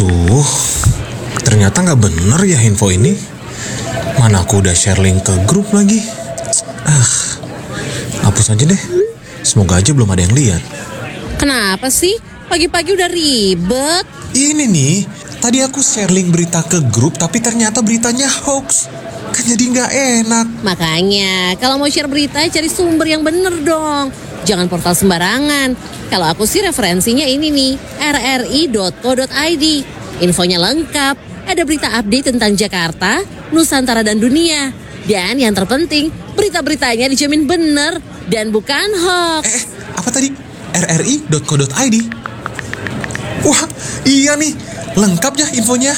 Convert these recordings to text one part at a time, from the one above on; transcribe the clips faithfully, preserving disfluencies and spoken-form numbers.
Duh, ternyata nggak bener ya info ini. Mana aku udah share link ke grup lagi. Ah, hapus aja deh. Semoga aja belum ada yang lihat. Kenapa sih? Pagi-pagi udah ribet. Ini nih, tadi aku share link berita ke grup tapi ternyata beritanya hoax. Kan jadi nggak enak. Makanya, kalau mau share berita, cari sumber yang bener dong. Jangan portal sembarangan. Kalau aku sih referensinya ini nih, R R I dot co dot I D. Infonya lengkap, ada berita update tentang Jakarta, Nusantara dan dunia. Dan yang terpenting, berita-beritanya dijamin bener dan bukan hoax. Eh, apa tadi? R R I dot co dot I D. Wah, iya nih, lengkap ya infonya.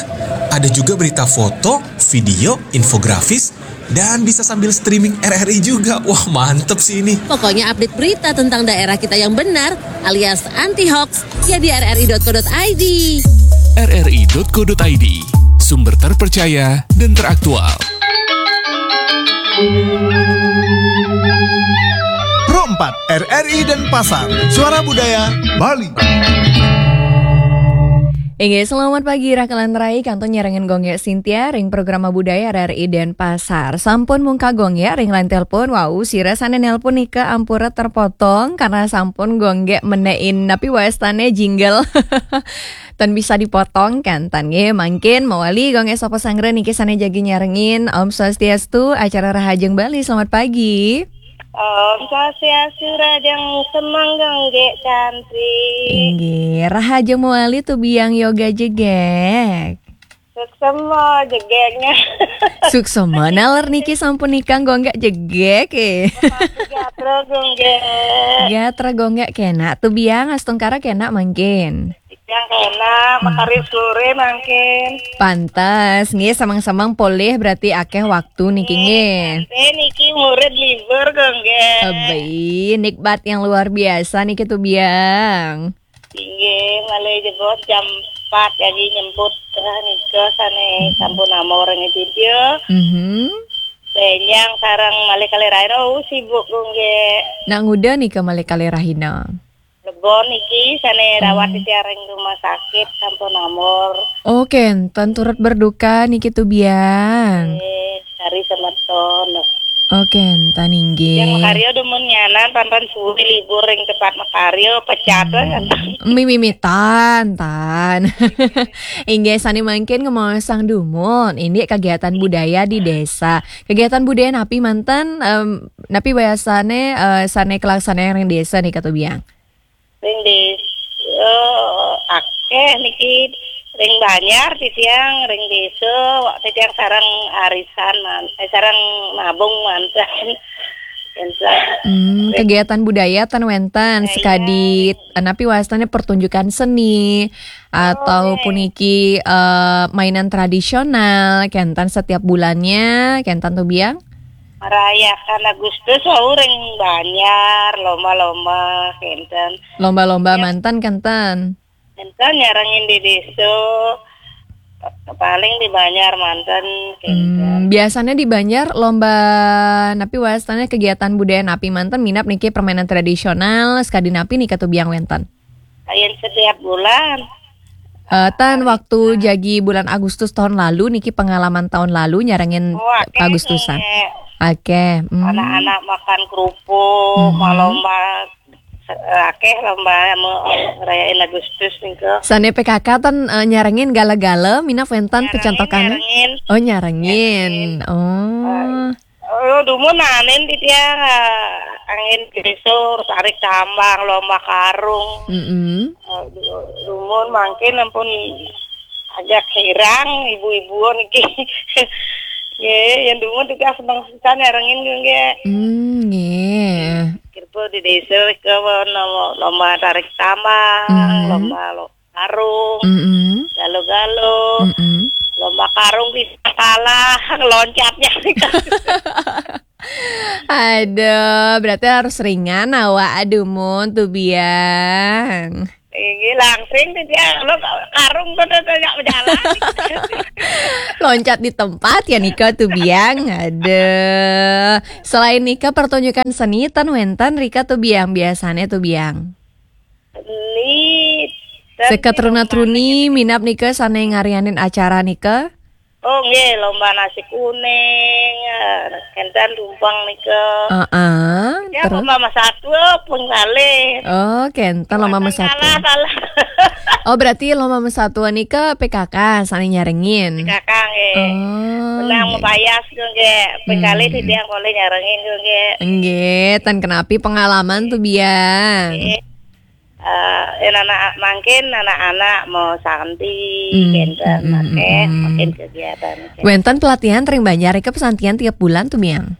Ada juga berita foto, video, infografis, dan bisa sambil streaming R R I juga. Wah, mantep sih ini. Pokoknya update berita tentang daerah kita yang benar alias anti hoax ya di R R I dot co dot I D. R R I dot co dot I D, sumber terpercaya dan teraktual. Pro empat, R R I Denpasar, Suara Budaya Bali. Inggih, selamat pagi Rakalan Rai, kantun nyarengin Gonggek Sintia ring programa budaya R R I Denpasar. Sampun mungka Gonggek ring line telepon, wau sira sane nelpon nika ampura terpotong karena sampun Gonggek menein napi wastane jingle. Ten bisa dipotong kan tan nggih, mangkin mawali Gonggek sapa sanggra niki sane jagi nyarengin. Om Swastiastu, acara Rahajeng Bali, selamat pagi. Om Swastiastu, Rahajeng semeng Gonggek cantik. Inggih, Rahajeng mawali Tubiang Yoga Jegek. Suksema jegeknya. Suksema naler niki sampun nikang Gonggek Jegek eh. Gatra Gonggek. Gatra Gonggek kena Tubiang, astungkara kena mangkin. Yang kena makari sore mangkin. Pantes nggih, semeng-semeng polih berarti akeh waktu niki nggih. Eh, niki murid libur Gonggek. Abai, nikmat yang luar biasa niki Tubiang. Inggih, malih jebos jam empat jagi nyemput, eh, nika sane sampun amor ngejidio. Mhm. Benjang sareng malih kalih rahina, oh, sibuk Gonggek. Nak nguda nika malih kalih rahina. Lebon niki sane rawat di tiareng rumah sakit sampun amor. Oh, kenten turut berduka niki Tubiang. Eh, kari semeton. Oh, kenten Yang inggih. makarya demen nyanan pan-pan suwi libur ring tempat makarya pecat kan. Mimitan tan. Inggih, sane mangkin ngemaosang dumun. Ini kegiatan budaya di desa. Kegiatan budaya napi manten, em, napi wayasane, eh, sane kelaksanaan ring desa nika Tubiang. Ring desa, eh, akeh niki ring Banjar titiang ring desa, wak titiang sareng arisan man, eh, sareng nabung manten. Enten. Hmm, kegiatan budaya ten wenten sekadi napi wastane pertunjukan seni atau puniki, eh, mainan tradisional kenten setiap bulannya kenten Tubiang. Merayakan Agustus wau ring Banjar, lomba-lomba kenten. Lomba-lomba manten kenten. Enten nyarengin di desa, paling di Banjar manten kenten. Hmm, biasanya di Banjar lomba napi wastane kegiatan budaya napi manten minab niki permainan tradisional sekadi napi nika Tubiang wenten. Ayen setiap bulan. Eh, tan waktu jagi bulan Agustus tahun lalu niki pengalaman tahun lalu nyarengin Wah, Agustusan. Kayak Oke, hmm. Anak-anak makan kerupuk, mau lomba, eh, akeh lomba mau rayain Agustus nika. Sane P K K ten, eh, nyarengin gala-gala minab wenten pecentokan. Nyarengin. Oh, nyarengin. Oh. Oh, dumun anen titiang, eh, angin gresur, tarik tambang, lomba karung. Mm-mm. Eh, du- dumun mangkin ampun agak hirang ibu-ibu niki. Nggih, yang dumun titiang seneng pisan nyarengin nggih. Hmm, nggih. Kirpo di desa ke lomba, lomba tarik tambang, Hmm. lomba lo- karung, Mm-mm. galo-galo, Mm-mm. lomba karung di kalah, loncatnya. Aduh, berarti harus ringan awak adumun Tubiang. Ini langsing titiang lo karung tuh tuh tuh nggak berjalan. Loncat di tempat ya nika Tubiang. Aduh. Selain nika pertunjukan seni ten wenten rika Tubiang biasanya Tubiang. Ini Seket truna-truni minab nika sane ngarianin acara nika? Oh nggih, lomba nasi kuning, eh, kenten tumpeng nika. Heeh, ya, terus? Lomba mesatua pun kalih. Oh, kenten lomba mesatua. Salah, salah. Oh, berarti lomba mesatua nika P K K sane nyarengin. P K K nggih. Oh, menang nggih. Mapayas tu nggih. Ping kalih hmm. Titiang boleh nyarengin tu nggih. Nggih, ten kenapi pengalaman tu biang. Nggih. Eh, anak mangkin anak-anak mau santi, hmm, kenten, hmm, makin, hmm, makin kegiatan. Wenten pelatihan ring banjar ika pesantian tiap bulan tu biang?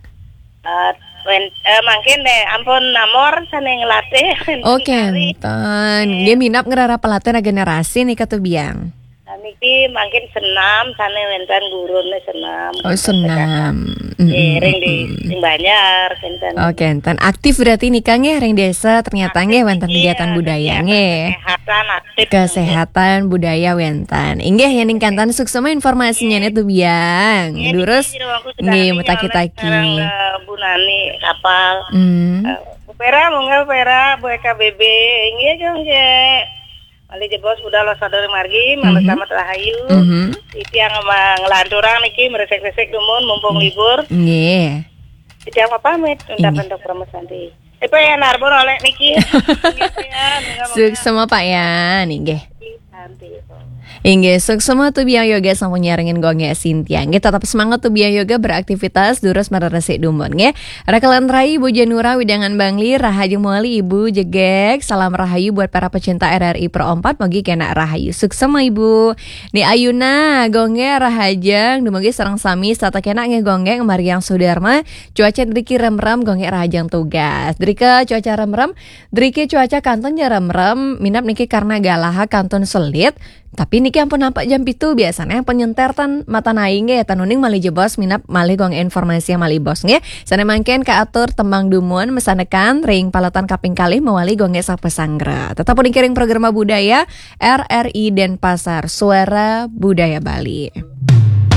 Eh, wen, eh, mangkin deh, ampun namor sane ngelatih. Oh, kenten. Nggih minab ngrereh pelatihan regenerasi nika tu biang. Nah, niki mangkin senam sane wenten gurune senam. Oh, senam. Nggih, ring di, ring banjar kenten. Oh, kenten. Aktif berarti nika nggih ring desa ternyata nggih wenten kegiatan budaya nggih. Kesehatan aktif. Kesehatan budaya wenten. Inggih, yen ning kanten suksema informasinya nih tu biang. Nggih, durus niki jero aku nggih, sedang mutaki-taki. Ngarang, eh, Bu Nani kapal. Hmm. Eh, Bu Pera, monggo Pera, Bu K B B. Inggih, nggih. Malih jebos budal sadaya margi, hmm, selamat rahayu. Hmm. Titiang nglanturang niki mresek-resek dumun mumpung libur. Nggih. Titiang pamit, nggih. Untuk Permasanti. Eh, Pak ya, Narbon oleh niki. Nggih, ya, nggih, Pak ya. Suksema, Pak ya, nggih. Santi. Inggih, suksema tu biang yoga sampun nyarengin gongge Sintia. Nggih, tetap semangat tu biang yoga beraktivitas, durus mararesi dumun, nggih. Rakalan rai Ibu Janura, wewidangan Bangli, rahajeng mawali Ibu Jegeg. Salam rahayu buat para pecinta R R I Pro empat, mugi kena rahayu. Suksema Ibu. Ni Ayuna, gongge rahajeng, dumugi sareng sami, setata kena nggih gongge, Mariang Sudarma, cuaca driki remrem, gongge rahajeng tugas. Drika cuaca remrem, driki cuaca kantun ja remrem, minab niki karena galaha kantun selit, tapi niki ampun nampak jam pitu, biasanya ampun nyenter tan mata naing nggih, tan uning malih jebos minab malih gong informasi malih bos nggih. Sane mangkin kaatur tembang dumun mesanekan ring paletan kaping kalih mawali gongge sapa sanggra. Tetap uning kiring programa budaya R R I Denpasar, Suara Budaya Bali.